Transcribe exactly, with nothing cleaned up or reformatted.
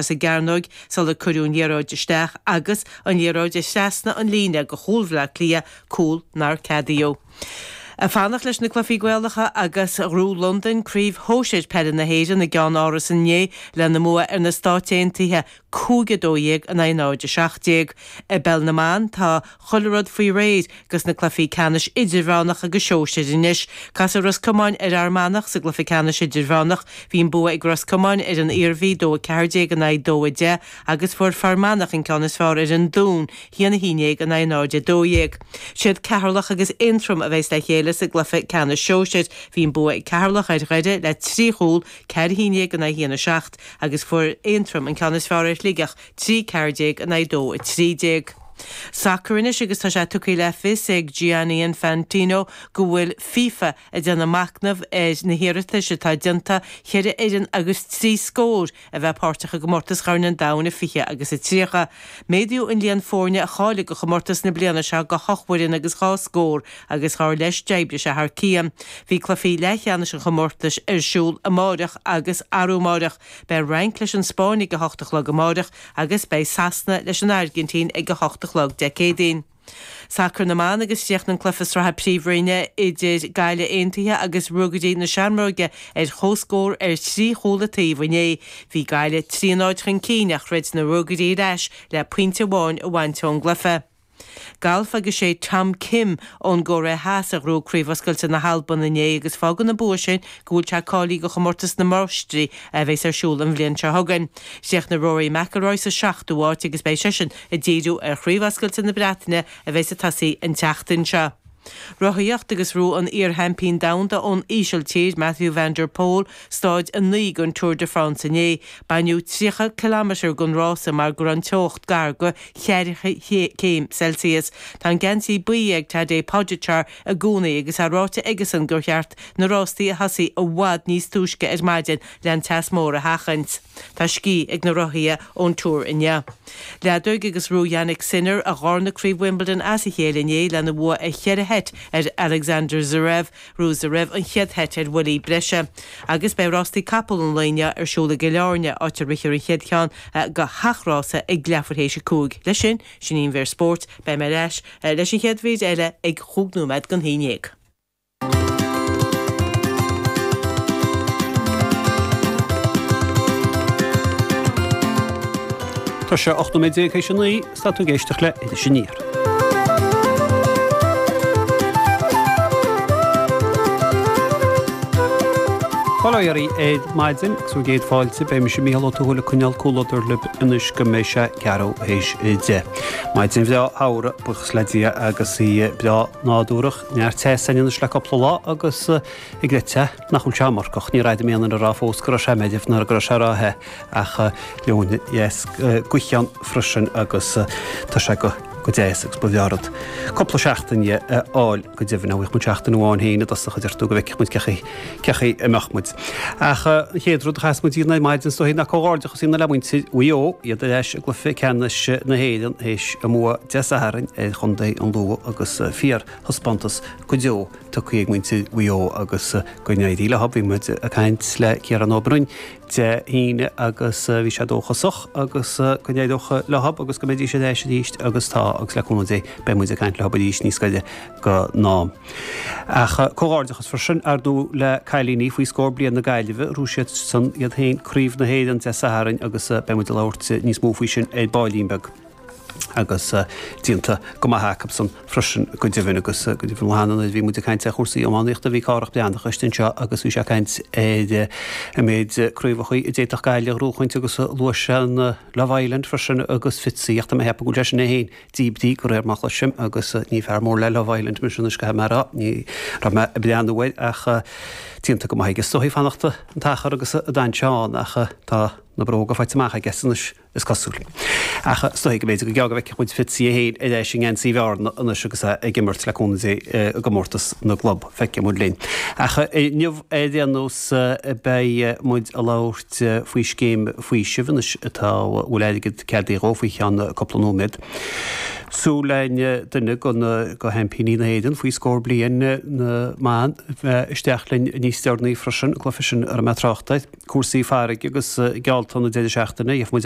sa gcearnóg sular cuireadh an liathróid isteach agus an liathróid trasna an líne go chúl Bhaile Átha Cliath, cúl nár ceadaíodh. Ag fanacht leis na cluichí Gaelacha agus ghnóthaigh Londain Craobh Shóisir Peile na hÉireann i gceann Áras inné lena mbua ar na Stáit Aontaithe cúig a dó dhéag in aghaidh náid a seacht déag. I bPeil na mBan tá chuile rud faoi réir dos na cluichí ceannais idirmheánach agus sóisir anois. Casfaidh Ros Comáin ar Fhear Manach sa gcluiche ceannais idirmheánach. Bhí an bua ag Ros Comáin ar an Iarmhí, dó a ceathair déag in aghaidh dó a deich, agus fuair Fear Manach an ceann is fearr ar an Dún, haon a haon déag in aghaidh náid a dó dhéag. Siad Ceatharlach agus Aontroim a bheas le chéile sa gcluiche ceannais sóisir. Bhí an bua ag Ceatharlach ar Dhoire le trí chúl, ceathair a haon déag in aghaidh haon a seacht, agus fuair Aontroim an ceann is fearr ar Shligeach, trí ceathair déag in aghaidh dó a trí déag. Sacar anois agus tá sé tugtha le fios ag Gianni Infantino go bhfuil FIFA ag déanamh machnamh ar na hiarratais atá déanta ceithre fhoireann agus trí scór a bheith páirteach i gcomórtas Chorn an Domhain i fiche agus a tríocha. Méadaíodh an líon foirne a cháiligh do chomórtas na bliana seo go hocht bhfoireann agus dhá scór agus dar leis d'oibrigh sé thar cionn. Bhí cluichí leathcheannais an chomórtais ar siúl amáireach agus arú amáireach. Beidh an Fhrainc leis an Spáinn ag a hocht a chlog amáireach agus beidh Sasana leis an Airgintín ag a hocht a chlog Dé Céadaoin. Sacar na mBan agus chríochnaigh an cluiche sraithe Príomhroinne idir Gaillimh Aontaithe agus Ruagairí na Seamróige ar comhscór ar thrí chúl an taobh inné. Bhí Gaillimh trí a náid chun cinn ach throid na Ruagairí ar ais le pointe amháin a bhaint ón gcluiche. Galf agus sé Tom Kim ón gCóiré Theas a ghnóthaigh Craobh Oscailte na hAlban inné agus fágann an bua sin go bhfuil sé cáilithe do chomórtas na Máistrí a bheas ar siúl an bhliain seo chugainn. Chríochnaigh Rory McIlroy sa seachtú háit agus beidh seisean ag díriú ar Chraobh Oscailte na Breataine a bheas ag tosaí an tseachtain seo. Rothaíocht agus ghnóthaigh an iar-sheaimpín domhanda ón Ísiltír, Mathieu van der Poel, stáid a naoi den Tour de France inné. Baineadh tríocha ciliméadar den rása mar go raibh an teocht gar do cheathracha céim Celsius. Tá an geansaí buí ag Tadej Pogačar i gcónaí agus é ráite aigesan gur cheart na rástaí a thosaí i bhfad níos túisce ar maidin le an teas mór a sheachaint. Tá scíth ag na rothaithe ón Tour inniu. Leadóg agus ghnóthaigh Jannik Sinner a dharna Craobh Wimbledon as a chéile inné lena bhua ar cheithre sheit ar Alexander Zverev. Ghnóthaigh Zverev an chéad sheit ar bhuillí breise. Agus beidh rástaí capall an lae inniu ar siúl i gCill Airne, áit a rithfear an chéad cheann de sheacht rása ag leathuair théis a cúig. Leis sin, sin í an mhír spóirt. Beidh mé ar ais leis an chéad mhír eile ag chúig nóiméad don haon déag. Tá sé ocht nóiméad déag théis a naoi, is tá tú ag éisteacht le Iris Aniar. Bail ó Dhia oraibh ar maidin agus bhur gcéad fáilte. Beidh mise Mícheál Ó Tuathail ag coinneáil comhluadar libh anois go mbeidh sé ceathrú théis a deich. Maidin bhreá shamhraidh, buíochas le Dia, agus í breá nádúrach. Neart teas againn anois le cúpla lá agus ag rith te nach bhfuil sé iomarcach. Níor airigh mé aon duine ag rá fós go raibh sé meirbh ná go raibh sé ró-the ach leoithne dheas gaoithe ann freisin agus tá sé go go deas agus ba bhreá rud cúpla seachtain dhe a fháil go deimhin. Bheadh muid seachtain amháin féin i dtosach a deir tú go bhfeicfeadh muid cé chaoi cé chaoi a mbeadh muid. Ach an chéad rud a chaithfeas muid a dhéanamh ar maidin is dóigh ná comhghairdeachas a dhéanamh le muintir Mhaigh Eo, iad ar ais i gcluiche ceannais na hÉireann théis a mbua Dé Sathairn ar chontae an Lú agus fíor thaispeántas go deo tugtha ag muintir Mhaigh Eo agus go n-éirí leo. Bhí muid ag caint le Ciarán Ó Broin Dé hAoine agus bhí sé dóchasach agus go n-éireodh leo agus go mbeidís ar ais arís agus tá agus le cúnamh Dé beidh muid ag caint leo arís níos gaire don am. Ach comhghairdeachas freisin ar ndóigh le cailíní faoi scór bliain na Gaillimhe, ghnóthaigh siad san iad féin Craobh na hÉireann Dé Sathairn agus beidh muid ag labhairt níos mó faoi sin ar baillín beag. agus déanta go maith acusan freisin go deimhin agus go deimhin lá cheana nuair a bhí muid ag caint ar chúrsaí iománaíochta bhí Cárthach Breathnach istigh anseo agus bhí sé ag caint ar an méid craobhacha a d'fhéadfadh Gaillimh a ghnóchaint agus luaigh sé an Love Island freisin agus Fitzy ach tá mé ag ceapadh go bhfuil sé sin é féin díbrithe de réir mar a chloisim agus ní fear mór le Love Island mise anois caithfidh mé a rá ní raibh mé ag breathnú air ach déanta go maith aige is dóichí fanacht an t-achar agus a d'fhan sé ann ach tá na bróga faighte amach aige anois. is cosúil. Ach is dóigh go mb'fhéidir go gearr go bhfeicfidh muid Fitzy é féin ar ais i ngeansaí Bhearna anois agus é ag imirt le cúnamh Dé i gcomórtas na gclub. Feicfidh muid linn. Ach inniu ar aon nós beidh muid ag labhairt faoi scéim faoisimh anois atá, a bhfuil airgead ceadaithe dhó faoi cheann cúpla nóiméad. Súil linn duine go go sheaimpíní na hÉireann faoi scór bliain na mban isteach linn níos deireanaí freisin, cloisfidh sin ar an mbeidh trácht air. Cúrsaí farraige agus geallta na deireadh seachtaine, gheobhaidh muid amach